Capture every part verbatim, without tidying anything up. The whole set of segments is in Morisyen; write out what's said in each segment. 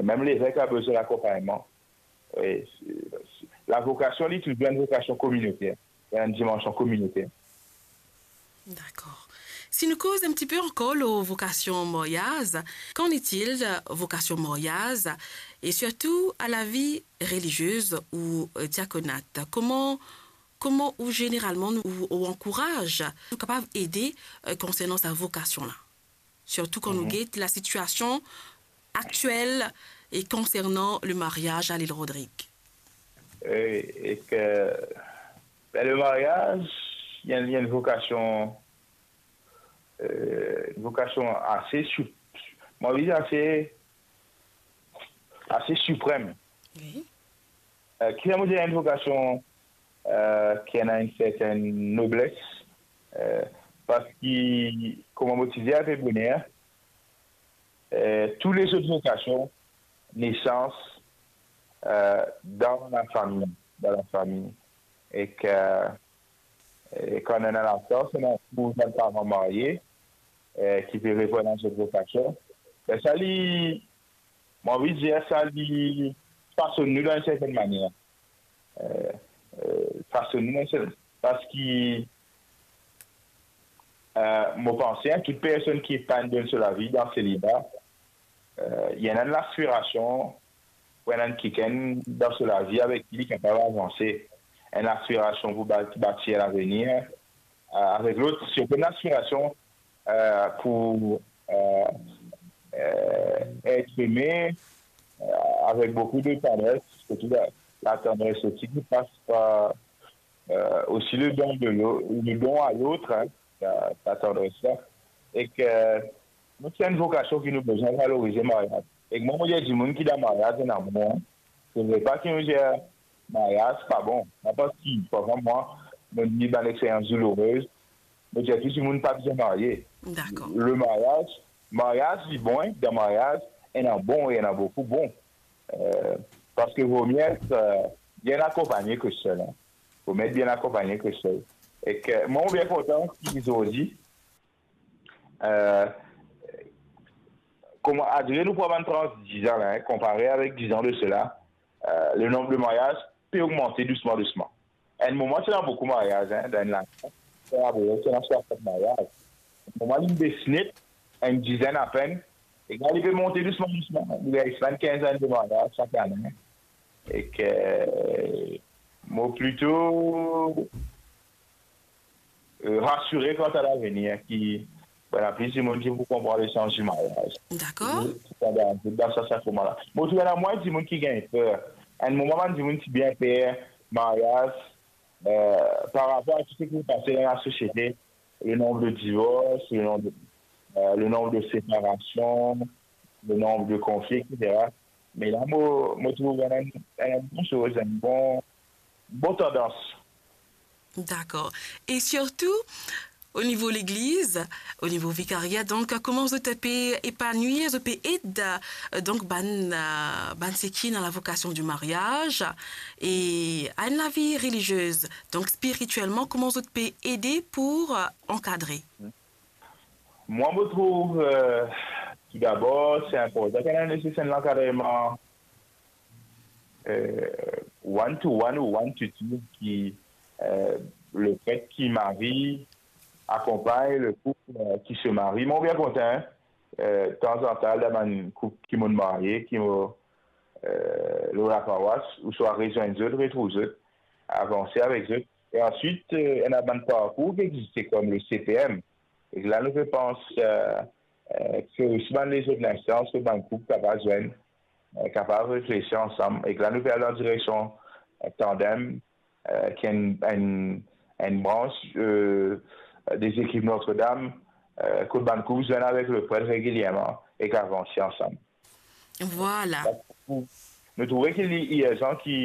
Mem levek a bezwin lakonpagnman. E, se, se, lavokasion, li touzour enn vokasion kominoter, enn dimansion kominoter. D'accord. Si nou koz enn ti pe ankor lor vokasion maryaz, qu'en est-il de vocation mariage et surtout à la vie religieuse ou, euh, diaconate ? Kouma, kouma ou zeneralman ou, ou ankouraz, ou kapav ede, euh, konsernan sa vokasion la ? Sirtou kan nou get lasitiasion aktiel e konsernan le maryaz a Lil Rodrig. E, e ke, ben, le maryaz, li enn, li enn vokasion, euh, enn vokasion ase sou-, mo anvi dir ase, ase siprem. Wi. Euh, ki fer mo dir enn vokasion, euh, ki ena enn sertenn nobles, euh, parski, kouma mo ti dir ape boner, euh, tou lezot vokasion nesans, euh, dan lafami, dan lafami. E ke, e kan ena lasans, ena pou bann paran marye, euh, ki pe reponn a zot vokasion. Ben, sa li, mo anvi dir sa li fasonn nou dan enn sertenn manier. Euh, euh, fasonn nou dan enn sertenn, parski, euh, mo panse, hein, tout personn ki epann dan so lavi, dan seliba, euh, li ena enn laspirasion pou ena enn kikenn dan so lavi avek ki li kapav avanse. Enn laspirasion pou ba-, batir lavenir, euh, avek lot, sirtou enn laspirasion, euh, pou, euh, euh, et eme, euh, avek boukou de tandres, sirtou la, latandres osi ki pas par, euh, osi le don de l'au-, le don à l'autre, hein, sa, sa tandres la. E ke, donk, se enn vokasion ki nou bizin valorize maryaz. E mwa, mo dir dimoun ki dan maryaz, ena bon, hein. Se vre pa ki nou dir maryaz pa bon. Pa parski, par exanp, mwa, mo ni bann experyans doulourez, mo dir tou dimoun pa bizin marye. Dakor. Le maryaz, maryaz, li bon, hein, dan maryaz, ena bon, ena boukou bon. Euh, parski vo mie et, euh, bien akonpagne ke sel, hein. Vo mie et bien akonpagne ke sel. E ke, mwa, mo bien kontan ki zordi, euh, kouma, adre nou pran bann trans dizan la, hein, konpare avek dizan de sela, euh, le nonb de maryaz pe ogmante dousman, dousman. Enn moman, ti ena boukou maryaz, hein, dan enn lane, ti ena, ti ena swasant maryaz. Enn moman, li bes net, enn dizenn apenn, e la, li pe monte dousman, dousman. Li ariv swasann-kinz ane de maryaz sak ane. E ke, mo plito, euh, rasire kanta lavenir, ki, bon, ena plis dimoun ki pou konpran lesans di maryaz. Dakor. Pandan, dan sa, sa kouma la. Mo trouv ena mwin dimoun ki gagn per. Enn moman, bann dimoun ti bien per maryaz, euh, par rapor a tou seki pase dan lasosiete, le nonb de divors, le nonb de, euh, le nonb de separasion, le nonb de konfli, et cetera. Me la, mo, mo trouv enn, enn bon soz, enn bon, bon tandans. Dakor. E sirtou, o nivo legliz, o nivo vikaria, donk, kouma zot pe epanouir, zot pe ed, euh, donk, bann, euh, bann seki ena lavokasion di maryaz, e a enn lavi reliziez, donk, spiritielman, kouma zot pe ede pou, euh, ankadre? Mwa, mo trouv, euh, toudabor, se inportan ki ena neseser lankadreman, euh, one to one ou one to two ki, euh, le pret ki mari akonpagn le koup, euh, ki se marie. Mo bien kontan, euh, tanzantan, dan bann koup ki mo marye, ki mo, euh, lor lapawas, ouswa rezwenn zot, retrouv zot, avanse avek zot. E answit, euh, ena bann parkour ki existe kom le C P M. E la, nou pe pans, euh, euh, ki osi bann lezot linstans, ki bann koup kapav zwenn, euh, kapav reflesi ansam. E la, nou pe al dan direksion, euh, Tandem, euh, ki enn, enn, enn brans, euh, de zekip Notre-Dame, euh, kot bann koup zwenn avek le pret regilierman e ki avanse ansam. Vwala. Nou trouve ki li irzan ki,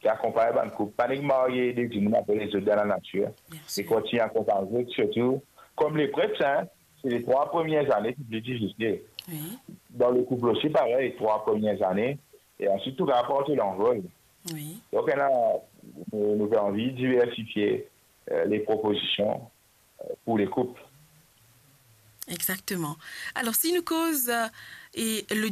ki akonpagn bann koup. Pa nek marye de dimoun apre lezot dan lanatir. Bien sir. E kontign akonpagn zot, sirtou kom le pret, hein, se le trwa premie zane ki pli difisil. Wi. Dan le koup osi, parey, trwa premie zane. E answit, tou kapav pran lanvol. Wi. Donk, ena, nou, nou pe anvi diversifie, euh, le propozision, euh, pou le koup. Exactement. Alors, si nou koz, euh, e le